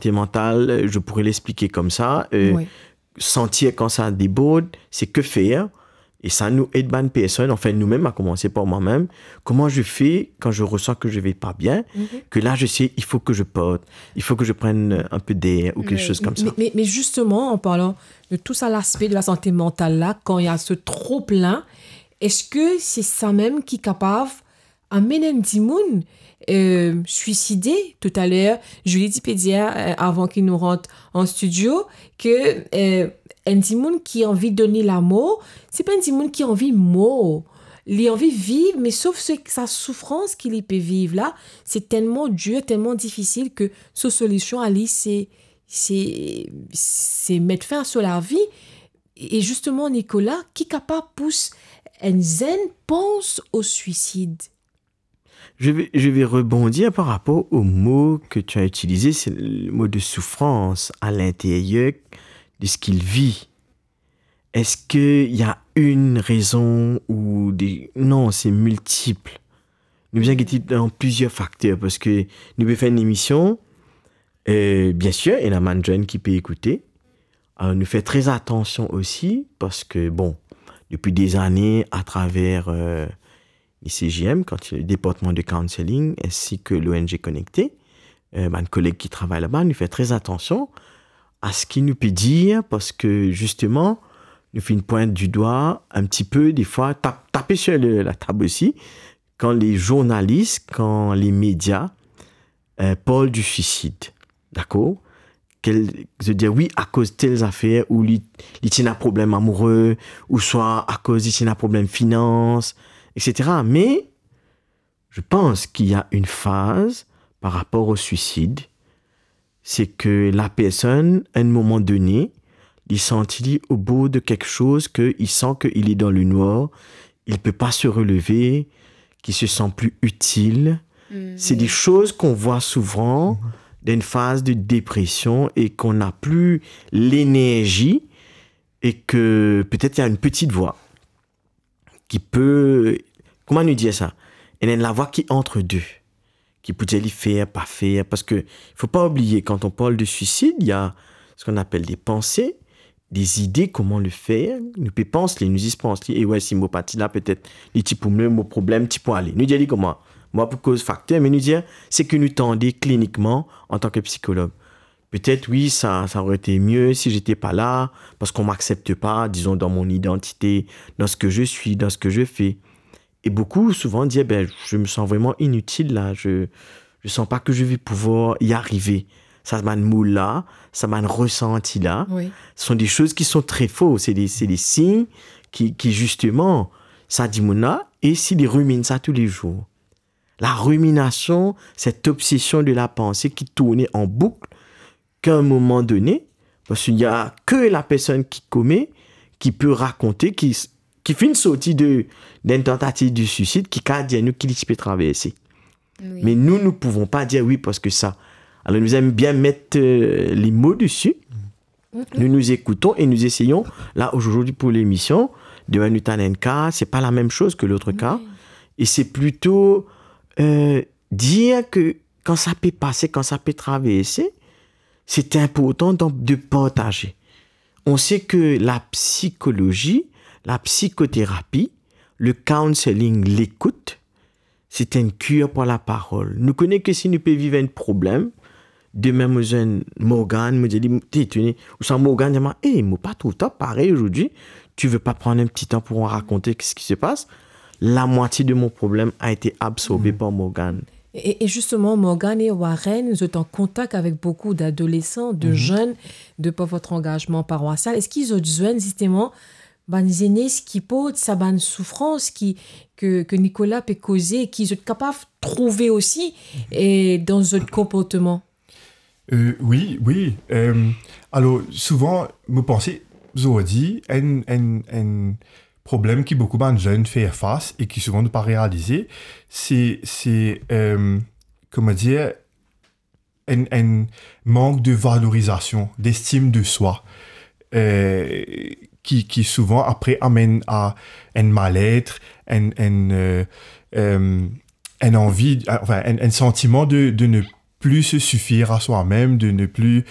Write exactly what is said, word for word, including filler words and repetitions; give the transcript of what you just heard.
santé mentale, euh, je pourrais l'expliquer comme ça, euh, Oui. sentir quand ça déborde, c'est que faire. Et ça nous aide bann personne, enfin nous-mêmes, à commencer par moi-même. Comment je fais quand je ressens que je vais pas bien, que là je sais, il faut que je parte, il faut que je prenne un peu d'air ou quelque chose comme ça. Mais, mais, mais justement, en parlant de tout ça, l'aspect de la santé mentale là, quand il y a ce trop-plein, est-ce que c'est ça même qui est capable amenn enn dimoun euh, suisidé. Toutaler, Julie ti pe dir, euh, avan ki nou rant an studio, ke euh, enn dimoun ki anvi donn li lamor, se pa enn dimoun ki anvi mor. Li anvi viv, me sof se, sa soufrans ki li pe viv la, se telman dir, telman difisil ke so solision a li, se, se, se met fin a so lavi. E justement, Nicolas, ki kapav pous enn zenn pans o swisid? Je vais, je vais rebondir par rapport au mot que tu as utilisé, c'est le mot de souffrance à l'intérieur de ce qu'il vit. Est-ce qu'il y a une raison ou des... Non, c'est multiple. Nou bizin gete dan plizier fakter, parski nou pe fer enn emision, euh, bien sûr, ena bann zenn ki pe ekoute. Alors, nou fer très attention aussi, parce que, bon, depuis des années, à travers euh, l'I C J M, quand le département de counseling, ainsi que l'O N G Connecté, euh, bann koleg ki travay laba, nou fer très attention à ce ki nou pe dir, parce que justement, nou finn pwint du doigt un petit peu, des fois, tap, tape sur le, la table aussi, quand les journalistes, quand les médias euh, parlent du suicide, d'accord? Kel, zot dir, wi, akoz tel zafer, ou li, li ti ena problem amoure, ou swa akoz li ti ena problem finans, et cetera. Mais je pense qu'il y a une phase par rapport au suicide, c'est que la personne, à un moment donné, il sentit au bout de quelque chose que il sent qu'il est dans le noir, il peut pas se relever, qu'il se sent plus utile. C'est des choses qu'on voit souvent dans une phase de dépression et qu'on n'a plus l'énergie et que peut-être il y a une petite voix qui peut, comment nous dire ça? Il y a une voix qui est entre deux, qui peut dire li fer, pa fer, parce que faut pas oublier, quand on parle de suicide, il y a ce qu'on appelle des pensées, des idées, comment le faire. Nou pe pans li, nou zis pans li, e wi, si mo pa ti la, petet li ti pou mie, mo problem ti pou ale. Nou dir li kouma? Mo pa pou koz fakter, me nou dir seki nou tande klinikman antan ki psikolog. Peut-être, oui, ça, ça aurait été mieux si j'étais pas là, parce qu'on m'accepte pas, disons, dans mon identité, dans ce que je suis, dans ce que je fais. Et beaucoup, souvent, disent, ben, je me sens vraiment inutile là, je, je sens pas que je vais pouvoir y arriver. Sa bann mo la, sa bann resanti la, Oui. Ce sont des choses qui sont très faux. C'est des, c'est des signes qui, qui, justement, sa dimoun la, e si li rumine sa tous les jours. La rumination, cette obsession de la pensée qui tourne en boucle, qu'à un moment donné, parce qu'il y a que la personne qui commet qui peut raconter, qui, qui finn sorti de, d'une tentative de suicide, ki kapav dir nou ki li ti pe traverse. Oui. Mais nous, nous pouvons pas dire oui parce que ça. Alors, nous aimons bien mettre euh, les mots dessus. Nous nous écoutons et nous essayons, là, aujourd'hui pour l'émission, demain, nous t'en un cas, c'est pas la même chose que l'autre cas. Et c'est plutôt euh, dire que quand ça peut passer, quand ça peut traverser, c'est important donc de partager. On sait que la psychologie, la psychothérapie, le counseling, l'écoute, c'est une cure pour la parole. Nou kone ke si nou pe viv enn problem, demin mo zwenn Morgane, mo dir li, t'es étonné, ou sa Morgane dir mwa, eh, mo pa trouv twa parey aujourd'hui, tu veux pas prendre un petit temps pour raconter ce qui se passe? La moitié de mon problème a été absorbé par Morgane. Et, et justement, Morgane et Warren, vous êtes en contact avec beaucoup d'adolescents, de jeunes, de par votre engagement paroissial. Est-ce qu'ils ont besoin justement bann zenes ki port sa bann soufrans ki, ke, ke Nicolas pe koze, ki zot kapav trouve osi, e dan zot konportman? Euh, wi, wi. Euh, alor, souvan, mo panse, zordi, enn, enn, enn problem ki boukou bann zenn fer fas e ki souvan nou pa realize, se, se, euh, kouma dir, enn, enn mank de valorizasion, d'estime de soi, euh, ki, ki souvan apre amenn a enn malet, enn, enn, euh, euh, enn anvi, enfin, enn, enn santiman de, de ne plus se suffire à soi-même, de ne plus